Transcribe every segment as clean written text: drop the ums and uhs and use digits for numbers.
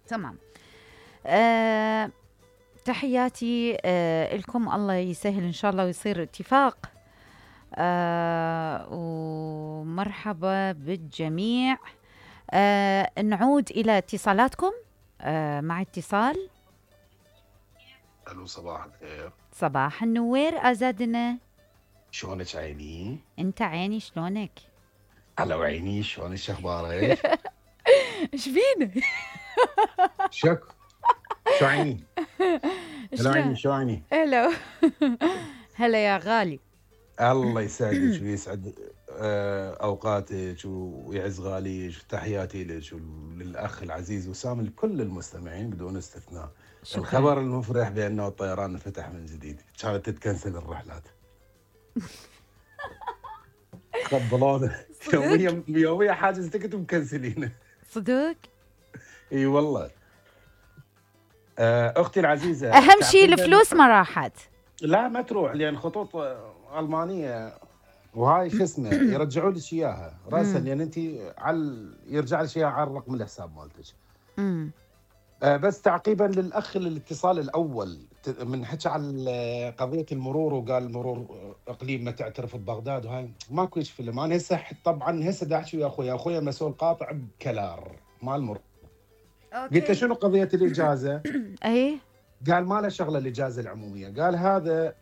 تمام. تحياتي لكم، الله يسهل إن شاء الله ويصير اتفاق. ومرحبا بالجميع. نعود إلى اتصالاتكم. مع اتصال. الو، صباح الخير. صباح النوير أزادنا. شلونك عيني؟ انت عيني، شلونك؟ هلا عيني، شلونك؟ شو اخبارك؟ ايش فينا؟ شو عيني؟ هلا عيني، شو عيني؟ هلا هلا يا غالي. الله يسعدك ويسعد اوقاتك ويعز غاليك. تحياتي لك وللاخ العزيز وسام، لكل المستمعين بدون استثناء. شكرا. الخبر المفرح بانه الطيران انفتح من جديد، كانت تتكنسل الرحلات. قبلونا يوميا حاجز تكت ومكنسلينه. صدق؟ اي والله. اختي العزيزه، اهم شيء الفلوس ما راحت. لا ما تروح، لان خطوط المانيه وهاي شو اسمه يرجعوا لك اياها راسا، لان انت يرجع لك اياها على الرقم الحساب مالتك. بس تعقيبا للاخ الاتصال الاول من حكى على قضيه المرور، وقال المرور اقليم ما تعترف ببغداد، وهاي ماكو هيك فيلم. انا هسه طبعا هسه دا احكي ويا اخويا مسؤول قاطع بكلار مال المرور. قلت له شنو قضيه الاجازه؟ اي قال ما له شغله الاجازه العموميه. قال هذا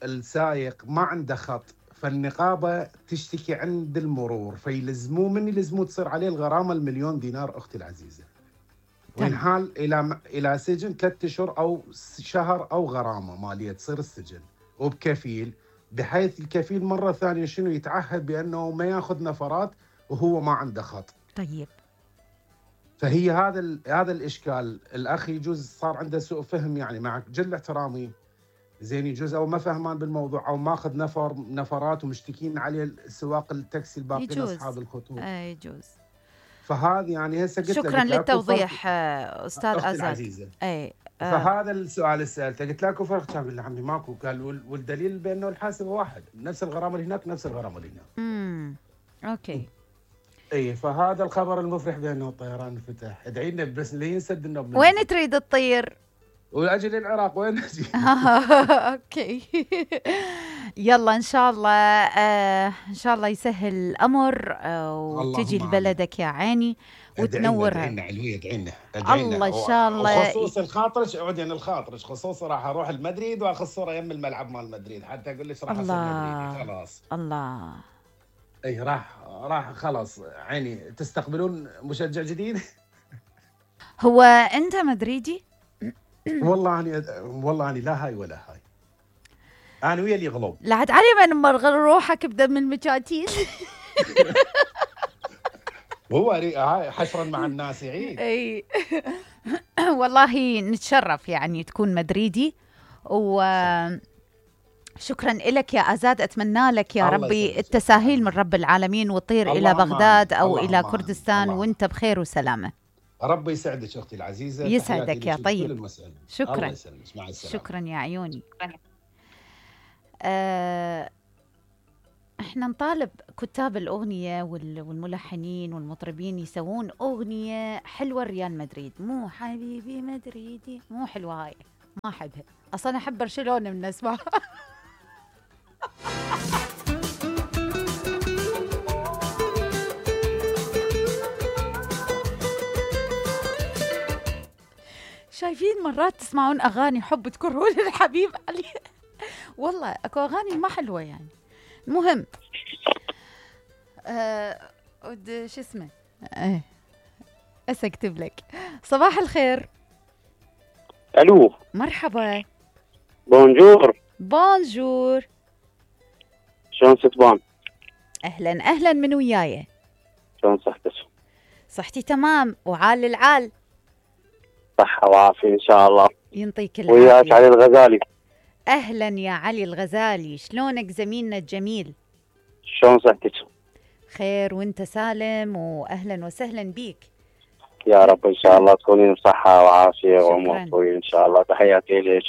السائق ما عنده خط، فالنقابه تشتكي عند المرور، فيلزموه من يلزموه تصير عليه الغرامه ال1,000,000 دينار اختي العزيزه، وينحال الى سجن 3 اشهر او شهر او غرامه ماليه تصير السجن، وبكفيل، بحيث الكفيل مره ثانيه شنو يتعهد بانه ما ياخذ نفرات وهو ما عنده خط. طيب. فهي هذا الاشكال. الاخ يجوز صار عنده سوء فهم، يعني مع جل احترامي، زين يجوز او ما فهمان بالموضوع او ماخذ نفرات ومشتكين عليه سواق التاكسي الباقيين اصحاب الخطوط. يجوز. فهذه يعني هسه قلت شكرا للتوضيح استاذ ازاد. اي فهذا السؤال اللي سالته، قلت لك فرق، كان يقول لي عمي ماكو. قال والدليل بانه الحاسب واحد، نفس الغرامه اللي هناك نفس الغرامه اللي هناك. اوكي. اي فهذا الخبر المفرح بانه الطيران انفتح. ادعي لنا بس لا ينسد النوم. وين تريد تطير؟ واجل العراق وين اجي؟ اوكي. يلا ان شاء الله ان شاء الله يسهل الامر وتجي لبلدك يا عيني وتنورها. ادعينا علوي، ادعينا الله ان شاء الله. خصوص الخاطرش اقعد يعني الخاطرش خصوصا راح اروح المدريد واخذ صوره يم الملعب مال المدريد حتى اقول لك راح اصير مدريدي خلاص. الله. اي راح خلاص عيني. تستقبلون مشجع جديد؟ هو انت مدريدي؟ والله اني لا هاي ولا هاي. انا ويا اللي غلب. لا عاد علي من مرغل روحك بدم المجاتيل. هو هاي حشرا مع الناس يعيد. اي والله نتشرف يعني تكون مدريدي. وشكرا لك يا أزاد. أتمنى لك يا ربي التساهيل من رب العالمين وتطير إلى بغداد أو إلى كردستان وانت بخير وسلامة. ربي يسعدك أختي العزيزة. يسعدك يا طيب. شكرا. الله يسلمك. مع السلامة. شكرا يا عيوني. احنا نطالب كتاب الأغنية والملحنين والمطربين يسوون أغنية حلوة ريال مدريد، مو حبيبي مدريدي، مو حلوة هاي، ما أحبها أصلا. أحب برشلونة من اسمها. شايفين مرات تسمعون أغاني حب تكرهون الحبيب علي. والله أكو أغاني ما حلوة يعني. المهم شو اسمه أكتب لك. صباح الخير. الو مرحبا. بونجور. شلون ستبان؟ اهلا من وياي. شلون صحتك؟ صحتي تمام وعال العال. صحة وعافية ان شاء الله. ينطيك العافية. وياك علي الغزالي. اهلا يا علي الغزالي، شلونك زميلنا الجميل؟ شلون صحتك؟ خير وانت سالم، واهلا وسهلا بيك. يا رب ان شاء الله تكونين بصحة وعافية وامور طويلة ان شاء الله. تحياتي لك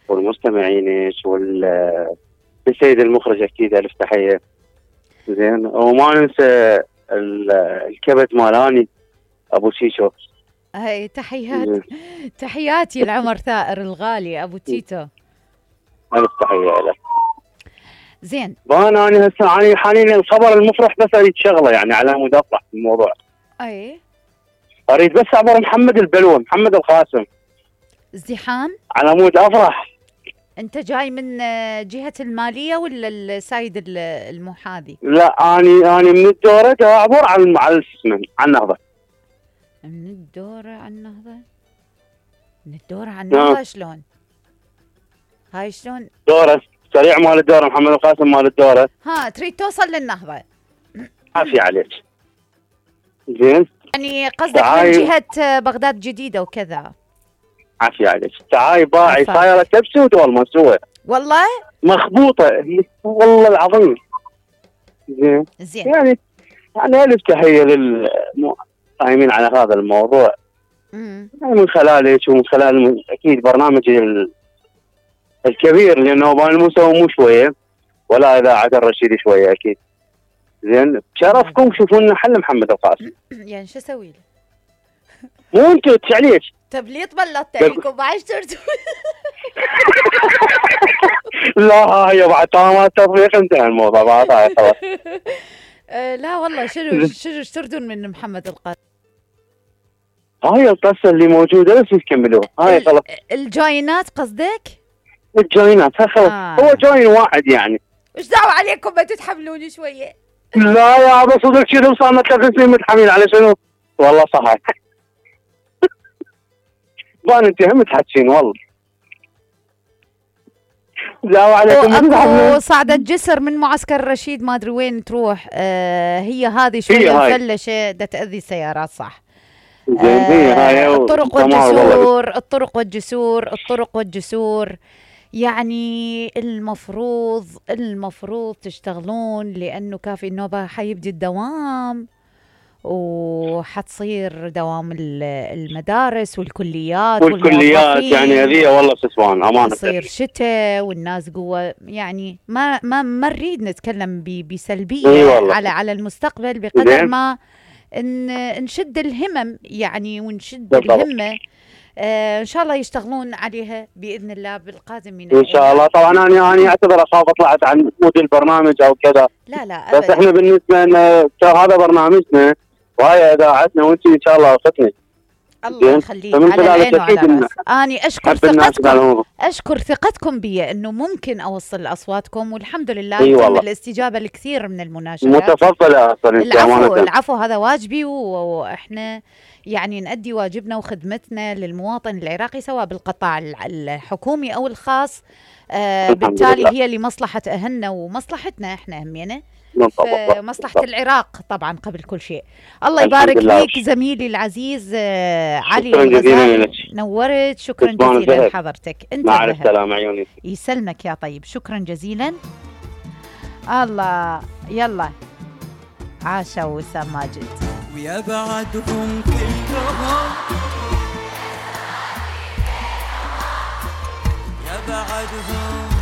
والمستمعينك والسيد المخرج اكيد الف تحية. زين وما ننسى الكبد مالاني ابو شيشو هاي تحياتي لعمر ثائر الغالي ابو تيتو. ألف تحية لك. زين أنا هسه حاليا الخبر المفرح بس اريد شغله يعني على مود افرح في الموضوع. اي اريد بس اعبر محمد البلوى محمد القاسم ازدحام على مود افرح. انت جاي من جهة المالية ولا السايد المحاذي؟ لا اني من الدورة اعبر على اسمه على النهضة. من الدورة على النهضة؟ من الدورة على النهضة شلون؟ هاي شلون؟ دورة سريع مال الدورة محمد القاسم مال الدورة. ها تريد توصل للنهضة؟ عافية عليك. زين يعني قصدك من جهة بغداد الجديدة وكذا. عافية عليك. تعاي باعي صايرة تبسود والله مسوى. والله؟ مخبوطة والله العظيم. زين يعني ألف تحية للقائمين على هذا الموضوع. يعني من خلالك ومن خلال أكيد برنامج الكبير لأنه بالمستوى مو شوية ولا إذاعة الرشيد شوية أكيد. زين شرفكم شوفوا لنا حل محمد القاسم. يعني شو اسوي له؟ مو انتوا عليك. طب ليه تبلطت عليكم بعد صرتوا؟ لا هي بعد طالما تطبيق انتهى الموضوع بعد هاي خلاص. لا والله شنو تردون من محمد القاسم؟ هاي القصة اللي موجودة بس يكملوها هاي خلاص. الجوينات قصدك؟ الجوينات هاي خلاص. هو جوين واحد يعني. ايش دعوة عليكم ما تتحملوني شوية؟ لا يا ابو صدق شنو صار لنا 3 سنين متحملين على شنو؟ والله صح. بان انت هم تحكين والله. لا عليكم. اكو صعدة جسر من معسكر رشيد ما ادري وين تروح. هي هذه شوية مفلشة دا تأذي السيارات صح. الطرق والجسور يعني المفروض تشتغلون لأنه كافي النوبة حيبدي الدوام وحتصير دوام المدارس والكليات يعني هذه والله سسوان أمانة. تصير شتاء والناس قوة يعني ما نريد نتكلم بسلبية على المستقبل بقدر ما نشد الهمم يعني ونشد الهمة. ان شاء الله يشتغلون عليها باذن الله بالقادم من ان شاء الله. طبعا انا اعتبر اخاف طلعت عن مود البرنامج او كذا. لا بس احنا بالنسبه لنا هذا برنامجنا وهي اذاعتنا وانت ان شاء الله اختنا. الله يخليك على العين وعلى الراس. اني اشكر ثقتكم بي انه ممكن اوصل اصواتكم والحمد لله تم الاستجابه الكثير من المناشدات. متفضله اصلا. العفو هذا واجبي واحنا يعني نؤدي واجبنا وخدمتنا للمواطن العراقي سواء بالقطاع الحكومي او الخاص. بالتالي هي لمصلحه اهلنا ومصلحتنا احنا همينه. مصلحة العراق طبعا قبل كل شيء. الله يبارك فيك زميلي العزيز علي. شكرا جزيلا لك. نورت. شكرا جزيلا لحضرتك. انت مع السلامة عيوني. يسلمك يا طيب. شكرا جزيلا. الله يلا عاشا وسام ماجد. ويا بعدهم كلهم يا بعدهم